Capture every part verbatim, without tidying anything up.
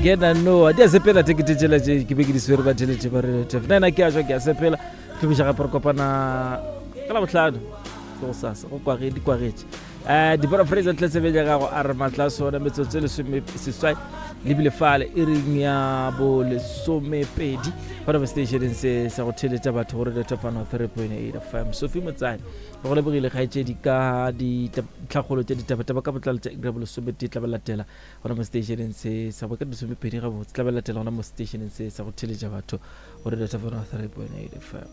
Kena no di a sepela tekete tšela tše ke be ke di swere ba theletše ba relative. Nna ke a tšwa ke a sepela. Tlhomiša gape re kopana ka Labohlano ke go sasa go kwage di kwagetše. Eh Deborah Fraser ntle tsebe ya gago a re matla sona metsotso e lesome seswai lebile fale e reng ya bo lesomepedi gona mo stationeng se sa go theletša batho gore Radio Fano three point eight F M. Sophie Motsane go lebogile kgaetšedi ka ditlhagolo tše ditabataba ka botlalo tša iri ya bolesometee tla ba latela gona mo stationeng se sa go ka lesomepedi gabotse tla ba latela gona mo stationeng se sa go theletša batho gore Radio Fano three point eight F M.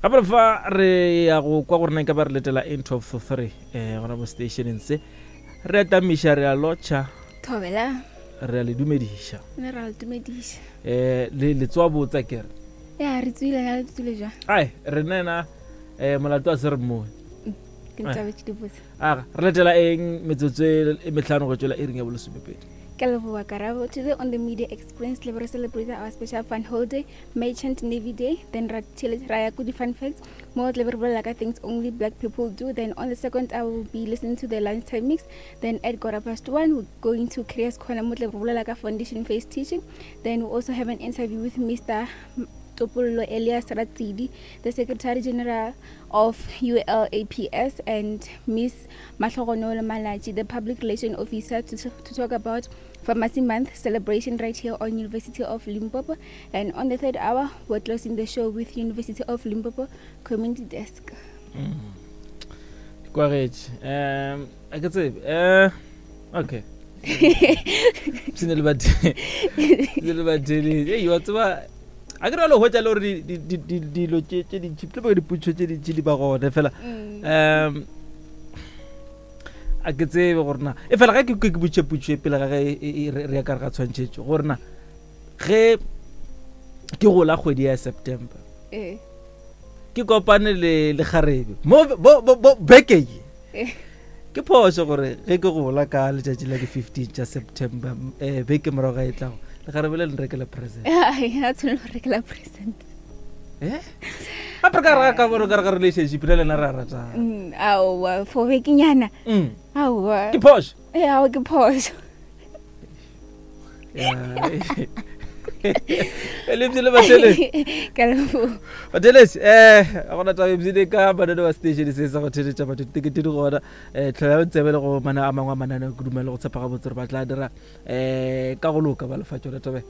Gape fa re ya go kwa gore na nka ba re letela in twelve to three eh gona mo stationeng se re atamiša re a lotšha thobela re a le dumediša ne ra le dumediša eh le le tswa botsa kere ya re tswile ya le tswile jwa ai re nena eh molato a se re mmone ke ntabetse di botsa aga re letela eng metsotso e metlhano go tswela e reng ya bolesomepedi. Ke leboha Karabo. Today on the Media Experience, we celebrate our special fun holiday, Merchant Navy Day. Then ra ya ko di fun facts, mo tle re bolela ka things only black people do. Then on the second hour, we'll be listening to the lunchtime mix. Then at quarter past one, we're going to Careers Corner, mo tle re bolela ka foundation phase teaching. Then we also have an interview with Mister Topollo Elias Ratsidi, the Secretary General of U L A P S, and Miss Mahlogonolo Malachi, the Public Relations Officer, to, to talk about Pharmacy Month celebration right here on University of Limpopo. And on the third hour, we're closing the show with University of Limpopo Community Desk. Mm. Um, I can say, uh, okay. Hey, what's up? A ke re le hwetša le gore dilo tše tše dintši tle ba dipotšo tše dintši di ba gone fela um a ke tsebe gore na e fela ga ke ke botše potšo e pele ga ge re ya ka re ga tshwantšhetšo gore na ge ke gola kgwedi ya September ke kopane le le kgarebe mo bo beke ye ke phošo gore ge ke gola ka letšatši la di fifteen tša September eh beke morago ga e tlago le kgarebe le nrekela present. Ai, a tshwanela go rekela present. Eh? Gape ka re ka boro ka re ka relationship le lena re a ratana. Mm, aowa, for bekenyana. Mm. Aowa. Ke phošo. Eh, aowa ke phošo. Le bjile bathelesi. Ka leboha. Bathelesi, eh ga gona taba ebile ka mananeo a station se sa go theletša batho ditekete di gona eh tlhola tsebe le go mana a mangwe a mananeo ke dumela go tshepa gabotse gore ba tla dira eh ka go loka ba lefa tšona tabe.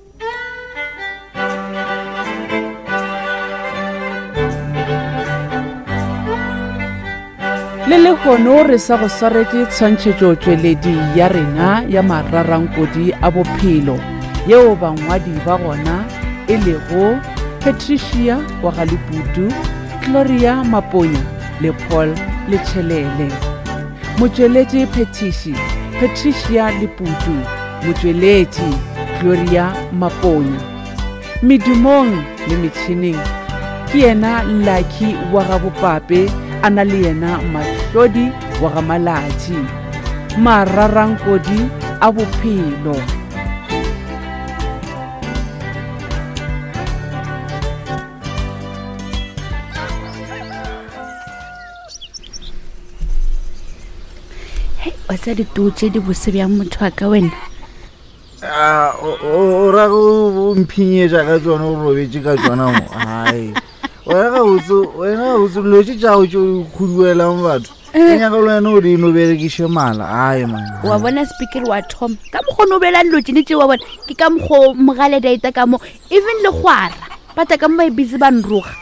Le lehono re sa go swaretše tshwantšhetšo tšweledi ya rena ya mararankodi a bophelo yeo bangwadi ba gona e lego Patricia wa ga Leputu, Gloria Maponya le Paul Letšhelele. Motšweletši phetiši Patricia Leputu, motšweletši Gloria Maponya. Medumong le metšhineng ke yena Lucky wa ga Bopape a na le yena Mahlodi wa ga Malatši. Mararankodi a bophelo. Hei, wa tsa dituo tše di bose bjang motho wa ka wena? A o ra go mphinyetša ka tsona o robetše ka tsona mo. Ai. Wena ga botse, wena ga botse dilo tše tša gago tše o khuduelang batho. Ke nyaka le wena o di no berekiše mala. Ai man. Wa bona speaker wa thoma. Ka mokgwa o bela dilo tšene tše wa bona ke ka mokgwa mogale daita ka mo even le kgwara. Ba tla ka mo ba busy ba nroga.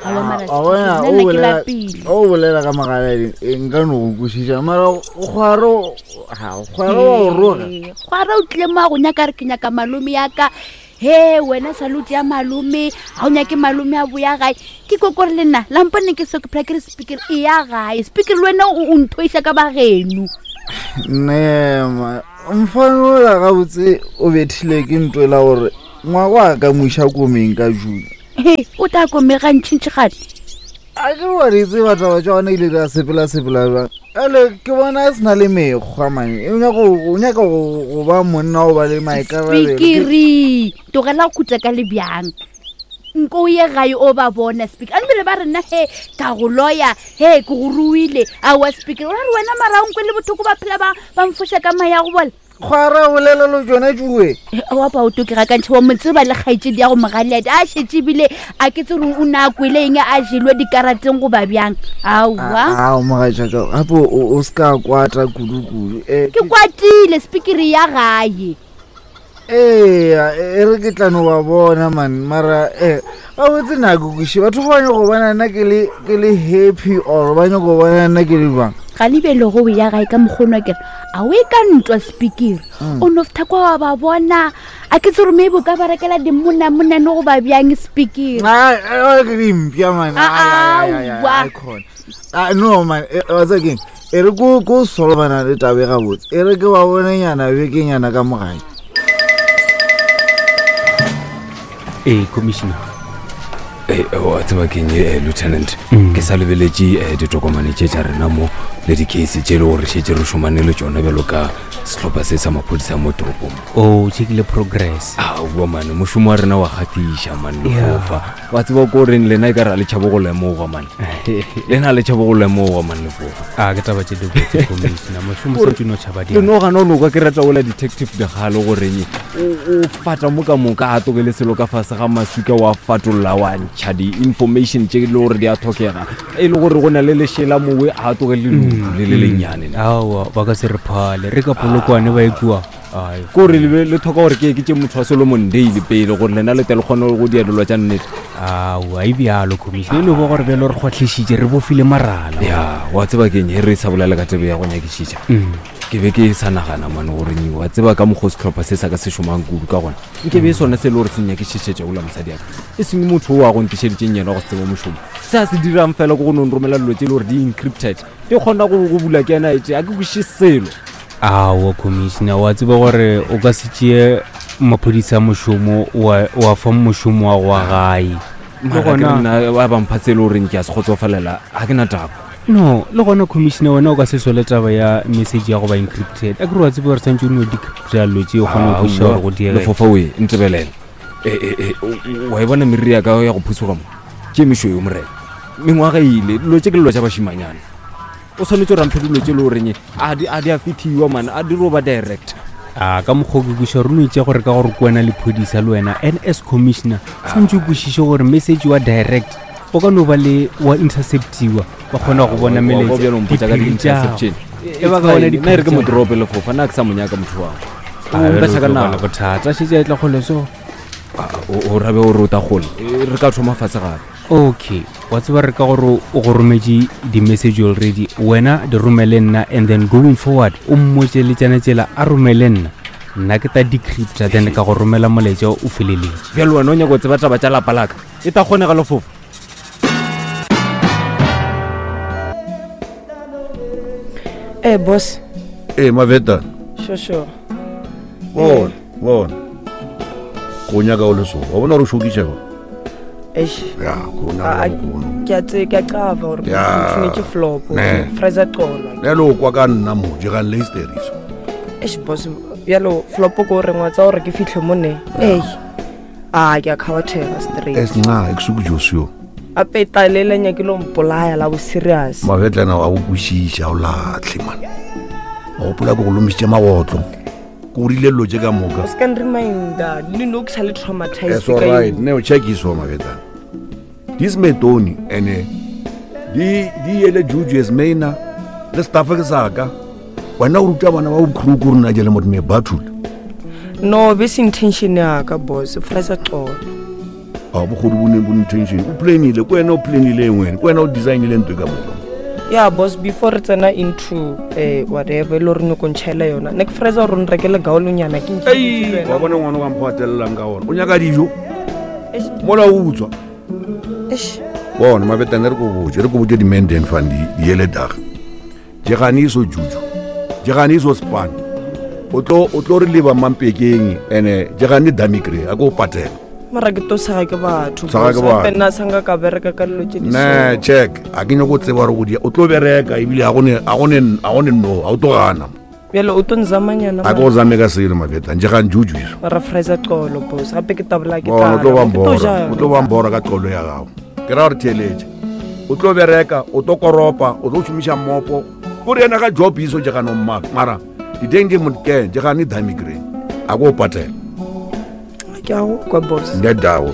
A o bolela o bolela ka mogale nka no go kwešiša mara kgwaro ha kgwaro wa o roga. Kgwaro o tlile mo a go nyaka re ke nyaka malome ya ka. He wena salute ya malome ha o nyake malome a boya gae ke kokore le nna la mpone ke so ke phela ke re speaker e ya gae speaker le wena o nthoiša ka bageno. Ne ma mfano la gabotse o bethile ke ntwela gore ngwako a ka moiša komeng ka June. He o tla komega ntšhintšhigane. A ke wa re tseba taba tša gona ile ra sepela sepela jwang. Ale ke bona a sena le mekgwa mane. O nyaka o nyaka go ba monna o ba le maikarabelo. Speakeri tlogela go khutla ka lebjang. Nko o ye gae o ba bona speaker. A nbele ba re nna he ka go loya he ke go ruile a wa speaker. O ra re wena mara o nkwe le bothoko ba phela ba ba mfoša ka maya go bola. Kgwara bolela le tsona tšue. Wa pa o toke ga kantšhe wa mo tseba le kgaetšedi ya go mogaleadi a šetše ebile a ke tse gore o ne a kwele eng a jelwe dikarateng goba bjang. Aowa. Ao mogatšaka gape o o se ka kwata kudu-kudu. Eh, Ke kwatile spikiri ya gae. Eya, e re ke tla no ba bona man mara eh gabotse nako kweše batho ba nyako bona nna ke le ke le happy or ba nyako bona nna ke le bang. Ga lebele go ya gae ka mokgono wa kere a o e ka ntwa spikiri. O no fitha kwa wa ba bona a ke tse gore maybe o ka ba rekela dimonamonane go ba bjang spikiri. Ai, ai, ke dimpša man. Ah, Ai, ai, ai, ai, aowa. ai, khona. Ah, no man, eh, wa tseba keng? E re ko ko solvana le tabe gabotse. E re ke ba bonenyana bekenyana ka mogae. Ee, commissioner. Ee, wa tseba keng eh, lieutenant Mm. ke sa lebeletše eh, ditokomane tše tša rena mo le di-case tše e le gore šetše re šomane le tšona bjalo ka sehlopha se sa maphodisa mo toropong. O checkile progress. Aowa mane mošomo wa rena wa gatiša mane Yeah. lefofa wa tseba ko goreng lena e ka re a le tšhabo go lemogwa mane lena a le tšhabo go lemogwa mane lefofa. A ke taba tše dibotse commissioner mošomo Gore- santse o no tšhaba le no gana o no kwa ke rata ola detective dikgale goreng o o fata mo ka moka a tokele selo ka fase ga maswika wa fatolla wa ntšha di-information tše e le gore di a tlhokega e le gore go na le lešela mowe a tokele leutu le le lennyane ne. Aowa ba ka se re phale re ka polokwane ba e kua. Ai, Ke gore le be- le tlhoka gore ke ke tše motho wa Solomon Dale pele gore lena le tle le kgone go dia dilo tša nnete. Aowa e bjalo commissioner e no ba gore bjalo re kgwahlišitše re bofile marala. Ya wa tseba keng he re sa bolela ka tebe ya go nyakišiša Mm. ke be ke sa nagana mane gore nyi wa tseba ka mokgwa o sehlopha se sa ka se šomang kudu ka gona nke be sone se e le gore se nyakišišetša ola mosadi aka e seng motho o a go ntišeditseng yena go se tsebe mošomo se a se dirang fela ke go no nromela dilo tše e le gore di encrypted di kgona go go bula ke ena etse a ke kwešiše selo. Aowa commissioner wa tseba gore o ka se tšee maphodisa a mošomo wa wa fa mošomo wa go wa gae. Le Mara ke re gona nna ba bampha tse e le goreng ke a se kgotsofalela ga ke na taba. No le gona commissioner wena o ka se sole taba ya message ya go ba encrypted a ke re wa tseba gore santse o no decrypta dilo tše o kgone go kwešiša gore go diege. Lefofa oe ntebelela E, e, e, o- wa e bona meriri ya ka ya go phusuga mo ke mešweu morena mengwaga e ile dilo tše ke dilo tša bašimanyana o tshwanetse gore amphe dilo tše e le goreng a di a di a fethiwa mane a di ro ba direct. A ka mokgwa o ke kweša gore o no itše gore ka gore ke wena lephodisa le wena N S commissioner santse o kwešiše gore message wa direct o ka no ba le wa interceptiwa ba kgona go bona Wa- wa bjalo mpotša ka diphiri tša gago. di-interception. E ba ka bona It's fine. Nna e re ke diphiri tša mo drope lefofa nna ke sa mo nyaka motho wa Ah, bjale o mpetša ka tlo ba le nako. bothata šetše a e tla kgole so. Ah, o o rabe gore o ta gole E, re ka thoma fatshe gape. Okay wa tseba re ka gore o go rometše di-message already wena di romele nna and then going forward o mmotse le tsena tsela a romele nna nna ke ta decrypta then ka go romela molaetša o feleletše. Bjalo wena o nyaka go tseba taba tša lapa laka e ta kgonega lefofa. Eh boss, Ee Maveta, sure sure. bona bona go nyaka o le so wa bona gore o šokiša go Eish. ya go A- nyaka a- go Ke a tse ke a qava gore Ya. ke flop. Ne. Fraser Xolo. le lo kwa ka nna mo jegang le histeriso. Eish boss, bjalo flop ko re ngwa tsa gore ke fihle mo ne. Ei. A ke a khawathega straight. Esinca ekusuku josio. A peta le le nyake lo mpolaya la bo serious. Mavetlana wa go kwešiša o latlhe man wa gopola ke go lomišitše magotlo ke o rile dilo tše ka moka. O ska nreminda, le no ke sa le traumatized It's all ka right. eo. Ne o check-iswa Mavetlana dis metoni ene di di ele juju as maina le staff ke saka wena o ruta bana ba bokhuruku rona jele motho me bathule. No, be se intention ya ka boss, Fraser Xolo. A bogodu bo ne bo intention o planile ko wena o planile wena ko wena o designile ntwe ka moka. Yeah boss, before re tsena into eh whatever e le gore nyako ntšhaela yona ne ke Fraser gore o nrekele gaolonyana ke ntše ke wa wena. bona ngwana o ka mokgwa atelelelang ka ona o nyaka dijo Eish. mola o utswa. Eish. Bona mabetane re ko botse re ko botse di-menden fund di ele daga jegane iso juju jegane iso span o tlo o tlo re leba mampekeng ene jegane damikre a ko o patela. Mara ke to sega ke batho Sega ke boss. batho. Gape nna sa nka ka bereka ka dilo tse di Ne so. check a ke nyako tseba gore go dia o tlo bereka ebile a gone a gone a gone no a o tlo gana. Bjale o tlo nzamanyana A ke go zame ka selo mabetane jegane juju iso. mara Fraser Xolo boss gape ke tabola ke Bona o tlo tlala, ba ke tlo mbora ja o tlo ba mbora ka qolo ya gago ke ra gore theeletše o tlo bereka o tlo koropa o tlo šomiša mmopo kore ena ka job iso jegane o mmaka mara Diteng di motken, je gane dami green. A go patela. Ke a go kwa boss. Ndedawo.